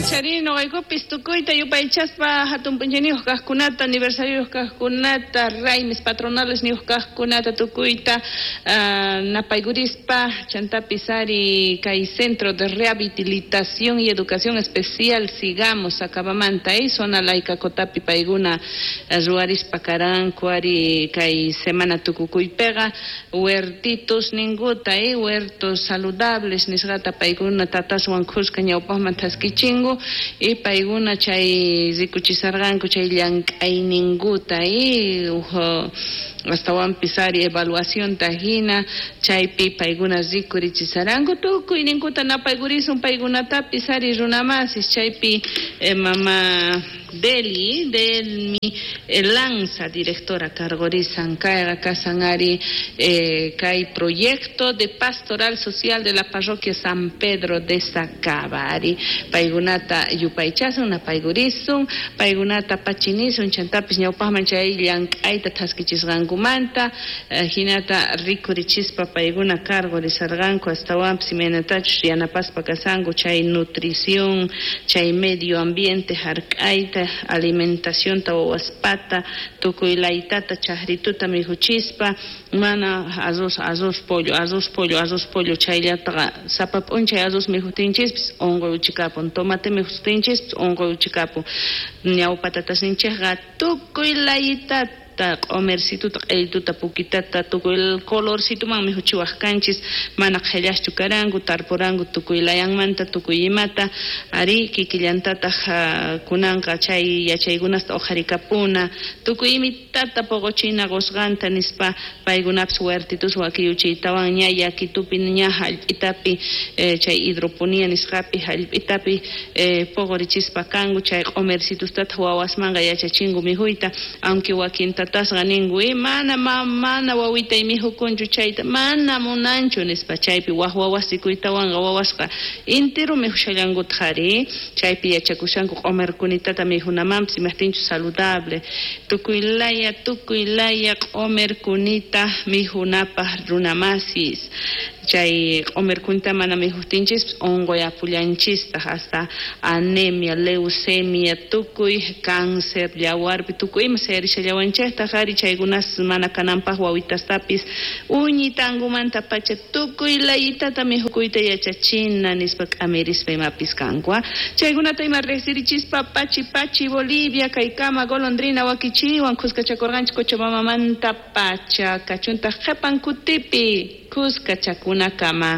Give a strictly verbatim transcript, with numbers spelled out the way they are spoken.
Chaypachari noqaykupis tukuyta yupaychaspa hatun p'unchayniyuq kaqkunata, aniversariyuq kaqkunata, raymis patronales niyuq kaqkunata tukuyta uh, napaykurispa chantapis ari kay Centro de Rehabilitación y Educación Especial sigamos Sacabamanta eh, zona laica kotapi paykuna ruwarispa karanku ari kay semana tukukuypiqa huertitos ninguta eh, huertos saludables nisqata paykuna tataswan khuska ñawpaqman thaskichingu y paykuna chay rikuchisarqanku chay llank'ayninkuta eh, uj astawanpis ari evaluacionta hina chaypi paykuna rikurichisaranku tukuyninkuta napaykurisun paykunatapis ari runamasis chaypi eh, mama Deli, Delmi eh, Lanza, directora cargorisan kayqa kasan ari eh, kay proyecto de pastoral social de la parroquia San Pedro de Sacaba ari paykunata yupaychasun napaykurisun paykunata pachinisun chantapis ñawpaqman chay llank'ayta thaskichisqankumanta eh, hinata rikurichispa paykuna cargorizarqanku astawanpis imaynatachus yanapaspa kasanku chay nutrición chay medio ambiente hark'ayta alimentacionta wawaspata tukuy laytata chaqrituta mikhuchispa mana arroz arroz pollo arroz pollo arroz pollo chayllataqa sapa p'unchay arroz mikhutinchispis unquy uchikapun tomate mikhutinchispis unquy uchikapun ñawpa tatasninchikqa tukuy laytata q'umercituta q'illituta pukitata tukuy colorcituman mikhuchiwaq kanchis mana qhillaschu karanku tarpuranku tukuy layanmanta tukuy imata ari kikillantataq kunanqa chay yachaykunasta uqharikapuna tukuy imitata poqochina qusqanta nispa paykunapis huertitus wakiyuchiytawan ña yakitupi ña hallp'itapi eh, chay hidroponía nisqapi hallp'itapi eh, poqorichispa kanku chay q'umercitustataq wawasmanqa yachachinku mikhuyta aunque wakinta tatasqa ninku eh, mana ma, mana wawitay mikhukunchu chayta mana munanchu nispa chaypi waj wawas rikuytawanqa wawasqa intero mikhushallankutaq ari chaypi yachakushanku q'umerkunitata mikhunamanpis imajtinchus saludable tukuy laya tukuy laya q'umerkunita mikhunapaq runamasis chay q'umerkunita mana mikhutinchispis unquy apullanchistaq hasta anemia, leucemia, tukuy cáncer yawarpi tukuy ima sayarishallawanchiktaj ari chaykunas mana kananpaq wawitastapis uñitankumanta pacha tukuy layitata mikhukuyta yachachina nispa k'amirispa imapis kanku chaykunata ima riqsirichispa pachi pachi Bolivia kaykama golondrina wakichiwan khuskachakurqanchik Cochabambamanta pacha kachuntaq qhipan kutipi khuskachakunakama.